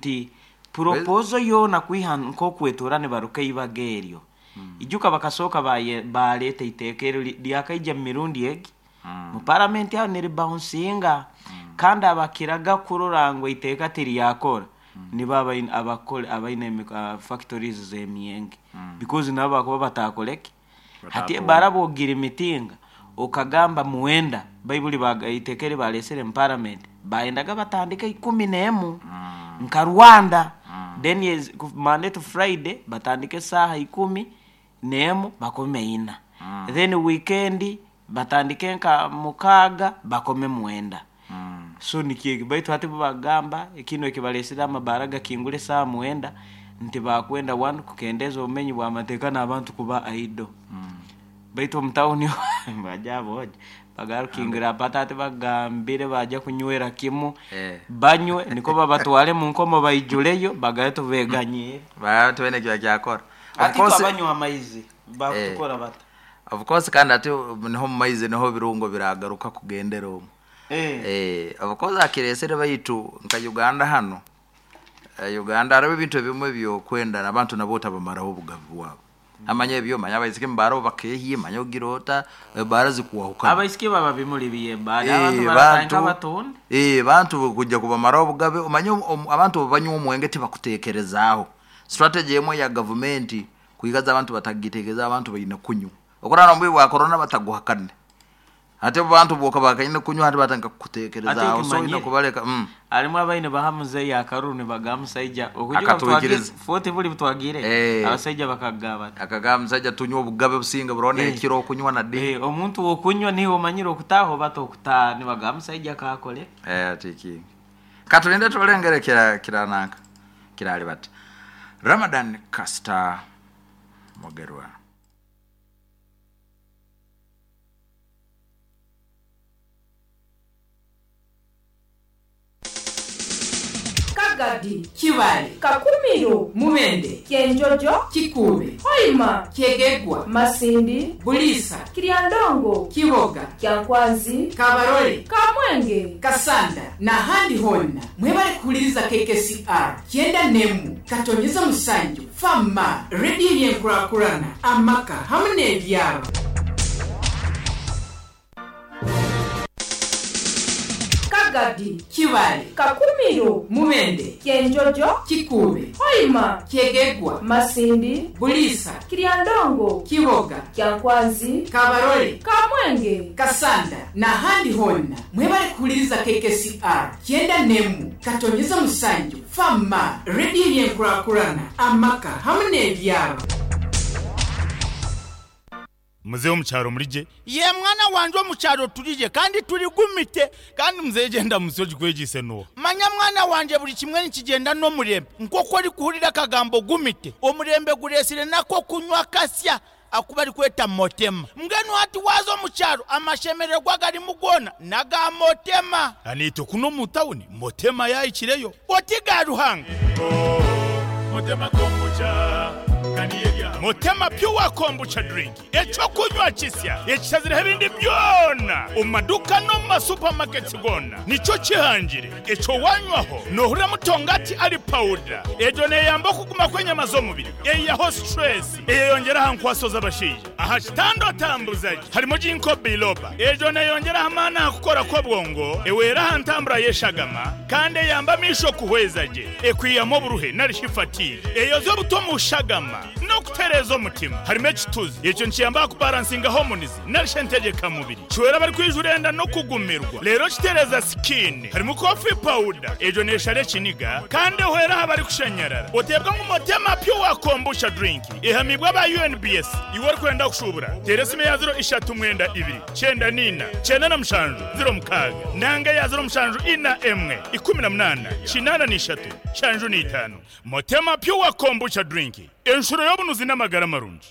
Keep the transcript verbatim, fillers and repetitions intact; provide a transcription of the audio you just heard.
Nti proposal yoona kwiha nk'okwetura nibaruka eibaga eryo, ijuka bakasooka baye- baleeta iteeka eryo ri- lyakaija mu mirundi egi mu paramenti aho niribouncinga, kandi abakiraga kurora ngu iteeka tiryakora nibo abaine abakore abaine emi- ah, factories z'emyenge, because nabo bakuba batakoreki hati. Batatunga. Baraba ogira emitinga okagamba muwenda baibuli baga- iteeka eri balesere mu parliament bayendaga batandike ikumi n'emu nka Rwanda, then yes, ku Monday to Friday batandike esaaha ikumi n'emu bakome ina, then weekend batandike nka mukaaga bakome mwenda. So nikyeki, baitu hati bo bagamba kino ekibalesere amabara gakingura esaaha mwenda nti bakwenda one kukendeeza obumenyi bw'amateeka n'abantu kuba idle, baitu omu tawuni baja boja bagarukingira pata ati bagambire baja kunywera kimu. Eh. Banywe niko babatware mu nkomo baijuleyo bagaye tubeganyire. Ba twene kya kyakora. Of Ati course abanywa amaizi bakutukora bata. Of course, kandi ati niho mu maizi niho birungo biragaruka kugendera omwo. Eh. Eh, of course akiresere, baitu nka Uganda hano, eh, Uganda hariho ebintu ebimwe byokwenda abantu nabo otabamaraho obugabi bwabo, amanya ebyo manya abaisiki mubaro bakehiye, manya ogira ota ebara zikuwahukana. Abaisiki baba bimuli biyembaale Eh, abantu baratandika batunda. eh, bantu kujja kubamaraho obugabe, omanye om- abantu banywa omwenge tibakutekerezaaho. Strategy emwe ya gavumenti kuigaza abantu batagitekereza, abantu baine kunywa okurana omubwi bwa corona bataguhakane, ate abantu boka bakaine kunywa hati batandika kukutekerezaaho, Ate so oine okimanyire. kubaleka mm. Harimu abaine baha muzeeyi akaruru nibagaa musaija Akatwikiriza. foti buli butwagire. Eh. Abasaija bakagaba bati Akagamba musajja tunywa obugabe businga burona Eh. ekiro okunywa na di. Eh, omuntu wokunywa niwe omanyire okutaaha oba tokutaaha, nibagaa musaija kakole. Eh, ati kingi katulinde tulengere kira kirananka kirali bati Ramadan Kasta Mugerwa. Kagadi, Kibale, Kakumiro, Mubende, Kyenjojo, Kikuube, Hoima, Kyegegwa, Masindi, Buliisa, Kiryandongo, Kiboga, Kyankwanzi, Kabarole, Kamwenge, Kasanda n'ahandi honna mwebale kuwuliriza K K C R kyenda nemu katonyeza musanju fama rediyo y'enkulakulana amaka hamu n'ebyalo. Kagadi, Kibale, Kakumiro, Mubende, Kyenjojo, Kikuube, Hoima, Kyegegwa, Masindi, Buliisa, Kiryandongo, Kiboga, Kyankwanzi, Kabarole, Kamwenge, Kasanda n'ahandi honna mwebale kuwuliriza K K C R kyenda nemu katonyeza musanju fama rediyo y'enkulakulana amaka hamu n'ebyalo. Muzehe omukyaro murije? Ye mwana wanje, omukyaro turije kandi turi gumite kandi Muzehe genda musoji kwegise no. Manya mwana wanje, buli kimwe nikigenda n'omurembe nk'oku ori kuhurira akagambo gumite, omurembe guresire nako kunywa kasya akuba ari kweta motema. Mbwenu hati waza omukyaro amashemererwa garimu gona naga motema. Anito kuno mu tawuni motema yayikireyo. Oti ga Ruhanga. Motema kombucha. Motema Pure Kombucha drink, ekyokunywa kisya ekishazireho ebindi byona omu maduka no mu masupamaketi gona nicyo kihangire. Ekyo wanywaho nohurira mutongati ari powder, egyo neyamba okuguma kw'enyama z'omubiri, eyiyaho stress, eyeyongera aha nkwaso z'abashaija aha kitanda otambuzaje. Harimo ginkgo biloba, egyo neyongeraho amaani aha kukora kw'obwongo, ewera aha ntambura y'eshagama kandi eyamba amisho kuhweza gye, ekwiyamu oburuhe narishi fatigue, eyoza obuto mu shagama n'okutereeza omutima. Harimo ekituzi, ekyo nikiyamba kubalansinga hormones narishi entegekamubiri, kiwera abari kwijura enda no kugumirwa rero kitereza skin. Harimo coffee powder, egyo neshara ekiniga kandi ehwera aha bari kushanyarara. Otebwa ngu Motema Pure Kombucha drink ehamibwa aba U N B S. Iwe orikwenda kushubura tera esimu ya ziro ishatu mwenda ibiri cyenda nina cyenda na mushanju ziro mukaaga nanga ya ziro mushanju ina emwe ikumi na munana kinana n'ishatu shanju n'itanu. Motema Pure Kombucha drink, enshuro y'obunuzi n'amagara marungi.